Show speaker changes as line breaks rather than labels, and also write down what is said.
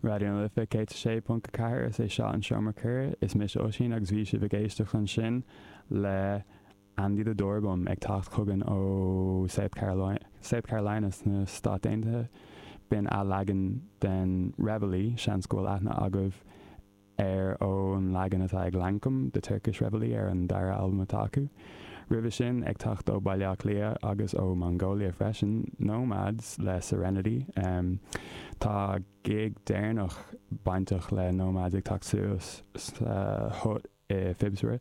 Raidió na Life 106.4, is é seo an Seomra Comhrá, is mise Oisín agus bhí sibh ag éisteacht ansin le Andy the Doorbum ag teacht chugainn ó South Carolina, South Carolina sna Stáit Aontaithe. B'in athleagan den Reveille, seans go bhfuil aithne agaibh air ón leagan atá ag Lankum, The Turkish Reveille ar an dara albam atá acu. Roimhe sin, ag teacht ó Baile Átha Cliath agus ó Mongolia freisin, Nomads le Serenity. Tá gig deireanach bainteach le Nomads ag teacht suas sa Hut i Phibsborough.